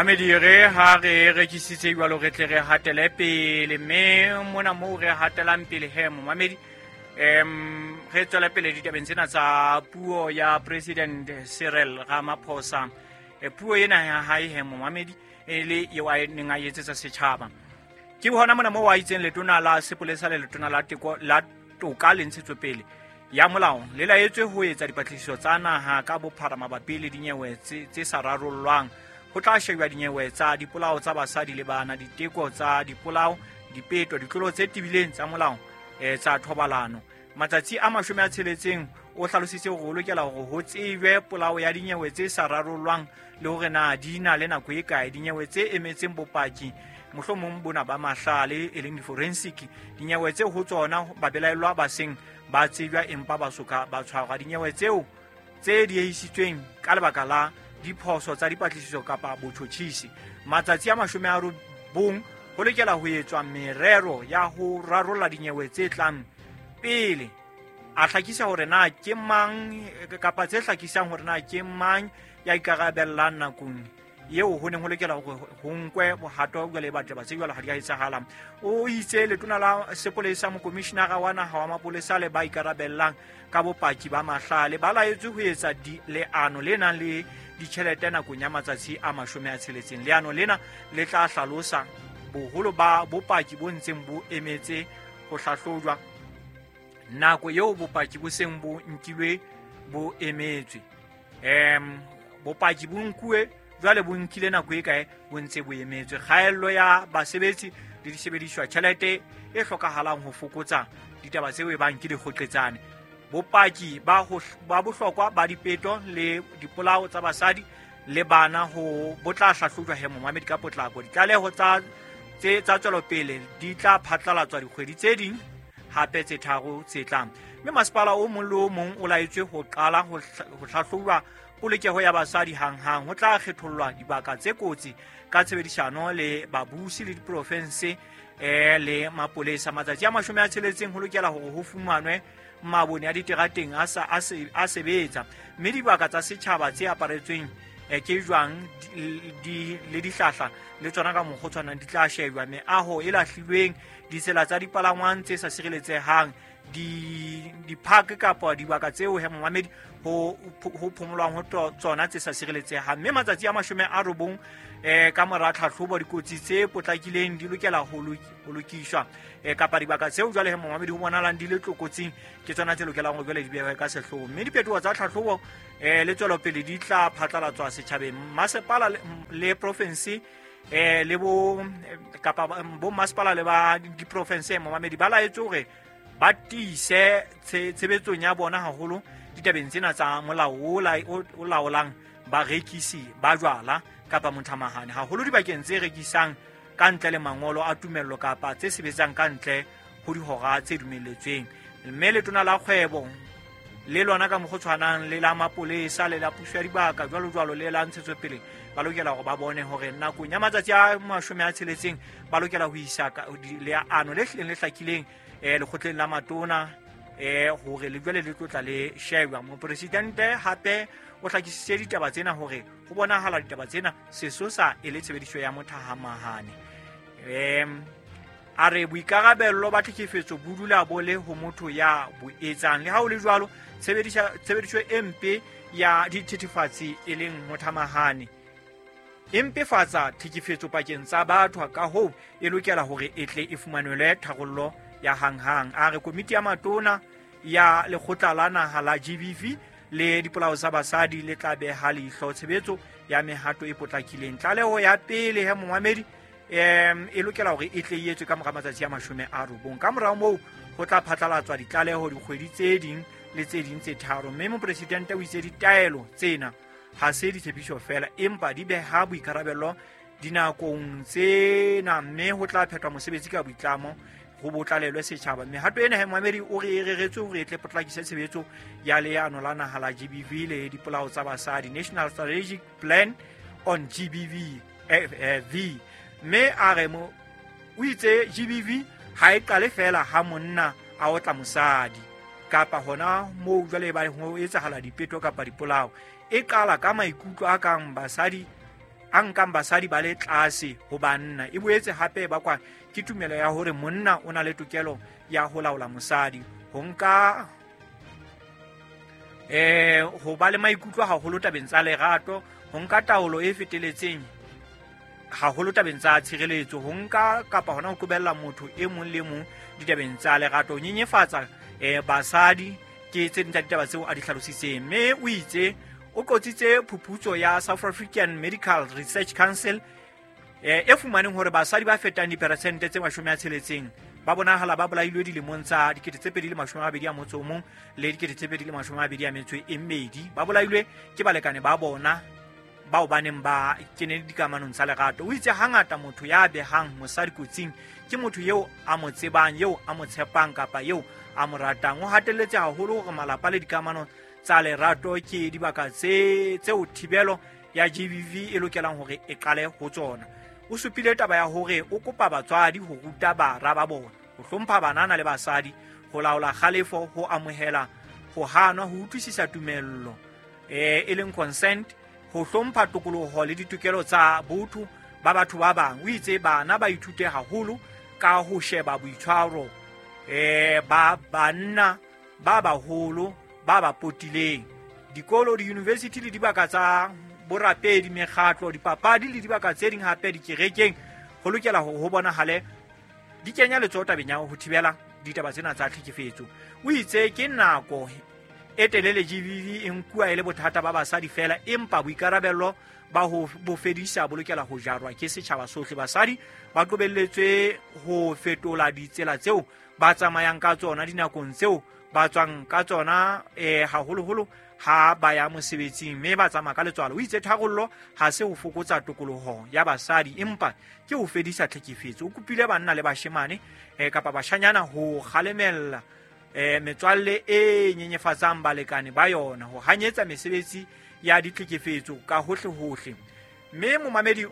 Mamedi re ha re rekisitse jwalo re tle re hatele pele mme mona moo re hatelang pele he momamedi re tswele pele ditabeng tsena tsa puo ya President Cyril Ramaphosa. Puo ena ya hae he momamedi e le eo a neng a etsetsa setjhaba. Ke hona mona moo a itseng letona la sepolesa le letona la teko la toka le ntshetsopele ya molao le laetswe ho etsa dipatlisiso tsa naha ka bophara mabapi le dinyewe tse sa rarollwang. Ho tla shejwa dinyewe tsa dipolao tsa basadi le bana, diteko tsa dipolao, dipeto, ditlolo tse tebileng tsa molao tsa thobalano. Matsatsi a 60 o hlalositse hore ho lokela hore ho tsejwe polao ya dinyewe tse sa rarollwang le hore na di na le nako e kae. Dinyewe tse emetseng bopaki mohlomong bona ba mahlale e leng di-forensic, dinyewe tse ho tsona babelaellwa ba seng ba tsejwa empa ba soka ba tshwarwa. Dinyewe tseo tse diehisitsweng ka lebaka la diphoso tsa dipatlisiso kapa botjhotjhisi. Matsatsi a 90 ho lokela ho etswa merero ya ho rarolla dinyewe tse tlang pele. A hlakisa hore na ke mang kapa tse hlakisang hore na ke mang ya ikarabellang nakong eo ho neng ho lokela hore ho nkwe bohato jwale ba taba tse jwalo ha di a etsahala. O itse letona la sepolesa, mokomishinara wa naha wa mapolesa le ba ikarabellang ka bopaki ba mahlale ba laetswe ho etsa leano le nang le ditjhelete nakong ya matsatsi a 60. Leano lena le tla hlalosa boholo ba bopaki bo ntseng bo emetse ho hlahlojwa, nako eo bopaki bo seng bo nkilwe bo emetswe. Bopaki bo nkuwe jwale bo nkile nako e kae bo ntse bo emetswe. Kgaello ya basebetsi le disebediswa, tjhelete e hlokahalang ho fokotsa ditaba tseo e bang ke dikgoqetsane. Bopaki ba bohlokwa ba dipeto le dipolao tsa basadi le bana ho bo tla hlahlojwa he momamedi ka potlako. Ditlaleho tsa tswelopele di tla phatlalatswa dikgwedi tse ding hape tse 3 tse tlang. Mme masepala o mong le o mong o laetswe ho qala ho hlahlojwa polokeho ya basadi hanghang. Ho tla kgethollwa dibaka tse kotsi ka tshebedisano le babusi le diprofense le mapolesa. Matsatsi a 60 ho lokela hore ho fumanwe mabone a diterateng a sebetsa, mme dibaka tsa setjhaba tse aparetsweng ke jwang le dihlahla le tsona ka mokgwa o tshwanang di tla shejwa. Meaho e lahlilweng, ditsela tsa dipalangwang tse sa sireletsehang, di-park kapa dibaka tseo he momamedi ho phomolwang ho tsona tse sa sireletsehang. Mme matsatsi a 90 ka mora tlhahlobo dikotsi tse potlakileng di lokela ho lokiswa kapa dibaka tseo jwale he momamedi ho bonahalang di le tlokotsing ke tsona tse lokelang ho jwale di behwe ka sehlooho. Mme diphetoho tsa tlhahlobo le tswelopele di tla phatlalatswa setjhabeng. Masepala le province le bo kapa bo masepala le ba diprovince momamedi ba laetswe hore ba tiise tshebetsong ya bona haholo ditabeng tsena tsa molao o laolang barekisi ba jwala kapa mothamahane, haholo dibakeng tse rekisang ka ntle le mangolo a tumello kapa tse sebetsang ka ntle ho dihora tse dumelletsweng. Mme letona la kgwebo le lona ka mokgwa o tshwanang le la mapolesa le la puso ya dibaka jwalo jwalo le la ntshetsopele ba lokela hore ba bone hore nakong ya matsatsi a 60 ba lokela ho isa leano le hlileng le hlakileng lekgotleng la matona hore le jwale le tlotla le shejwa. Mopresidente hape o hlakisitse ditaba tsena hore ho bonahala ditaba tsena sesosa e le tshebediso ya mothahamahane. A re boikarabello ba tlhekefetso bo dula bo le ho motho ya bo etsang. Le ha ho le jwalo, tshebediso e mpe ya dithethefatsi e leng mothamahane e mpefatsa tlhekefetso pakeng tsa batho, ka hoo e lokela hore e tle e fumanelwe tharollo ya hanghang. A re komiti ya matona ya lekgotla la naha la GBV le dipolao tsa basadi le tla beha leihlo tshebetso ya mehato e potlakileng. Tlaleho ya pele he momamedi e lokela hore e tle e etswe ka mora matsatsi a 90. Ka morao moo ho tla phatlalatswa ditlaleho dikgwedi tse ding le tse ding tse 3. Mme mopresidente o itse ditaelo tsena ha se ditshepiso fela empa di beha boikarabello dinakong tsena, mme ho tla phethwa mosebetsi ka boitlamo ho botlalelwe setjhaba. Mehato ena he momamedi o re e reretswe hore e tle potlakise tshebetso ya leano la naha la GBV le dipolao tsa basadi, National Strategic Plan on GBV V. Mme a re o itse GBV ha e qale fela ha monna a otla mosadi kapa hona moo jwale ba ho etsahala dipeto kapa dipolao. E qala ka maikutlo a kang basadi a nkang basadi ba le tlase ho banna. E boetse hape e bakwa ke tumelo ya hore monna o na le tokelo ya ho laola mosadi. Ho nka ho ba le maikutlo haholo tabeng tsa lerato, ho nka taolo e feteletseng haholo tabeng tsa tshireletso, ho nka kapa hona ho qobella motho e mong le mong ditabeng tsa lerato, ho nyenyefatsa basadi, ke tse ding tsa ditaba tseo a di hlalositseng. Mme o itse o qotsitse phuputso ya South African Medical Research Council e fumaneng hore basadi ba fetang diperesente tse 60 ba bonahala ba bolailwe dilemong tsa 2021 le 2022. Ba bolailwe ke balekane ba bona bao ba neng ba kene dikamanong tsa lerato. O itse hangata motho ya behang mosadi kotsing ke motho eo a mo tsebang, eo a mo tshepang kapa eo a mo ratang. O hatelletse haholo hore malapa le dikamano tsa lerato ke dibaka tseo thibelo ya GBV e lokelang hore e qale ho tsona. O supile taba ya hore o kopa batswadi ho ruta bara ba bona ho hlompha banana le basadi, ho laola kgalefo, ho amohela ho hanwa, ho utlwisisa tumello e leng consent, ho hlompha tokoloho le ditokelo tsa botho ba batho ba bang. O itse bana ba ithute haholo ka ho sheba boitshwaro ba banna ba baholo ba ba potileng. Dikolo, di-university le dibaka tsa borapedi, mekgatlo, dipapadi le dibaka tse ding hape dikerekeng ho lokela hore ho bonahale di kenya letsoho tabeng ya ho thibela ditaba tsena tsa tlhekefetso. O itse ke nako e telele GBV e nkuwa e le bothata ba basadi fela, empa boikarabello ba ho bo fedisa bo lokela ho jarwa ke setjhaba sohle. Basadi ba qobelletswe ho fetola ditsela tseo ba tsamayang ka tsona dinakong tseo ba tswang ka tsona, haholoholo ha ba ya mosebetsing mme ba tsamaya ka letswalo. O itse tharollo ha se ho fokotsa tokoloho ya basadi, empa ke ho fedisa tlhekefetso. O kopile banna le bashemane kapa bashanyana ho kgalemella metswalle e nyenyefatsang balekane ba yona, ho hanyetsa mesebetsi ya ditlhekefetso ka hohle-hohle. Mme momamedi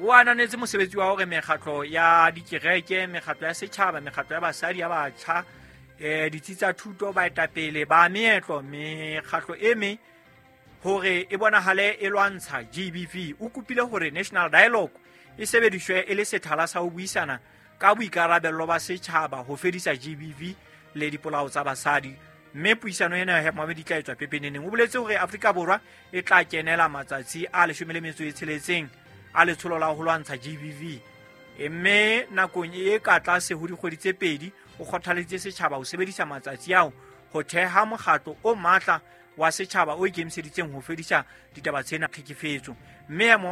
o ananetse mosebetsi wa hore mekgatlo ya dikereke, mekgatlo ya setjhaba, mekgatlo ya basadi, ya batjha, ditsi tsa thuto, baetapele ba meetlo, mekgatlo e meng hore e bonahale e lwantsha GBV. O kopile hore National Dialogue e sebediswe e le sethala sa ho buisana ka boikarabello ba setjhaba ho fedisa GBV le dipolao tsa basadi. Mme puisano ena ya momamedi tla etswa pepeneneng. O boletse hore Afrika Borwa e tla kenela matsatsi a 16 a letsholo la ho lwantsha GBV. Mme nakong e ka tlase ho dikgwedi tse 2 o kgothaleditse setjhaba ho sebedisa matsatsi ao ho theha mokgatlo o matla wa setjhaba o ikemiseditseng ho fedisa ditaba tsena tlhekefetso. Mme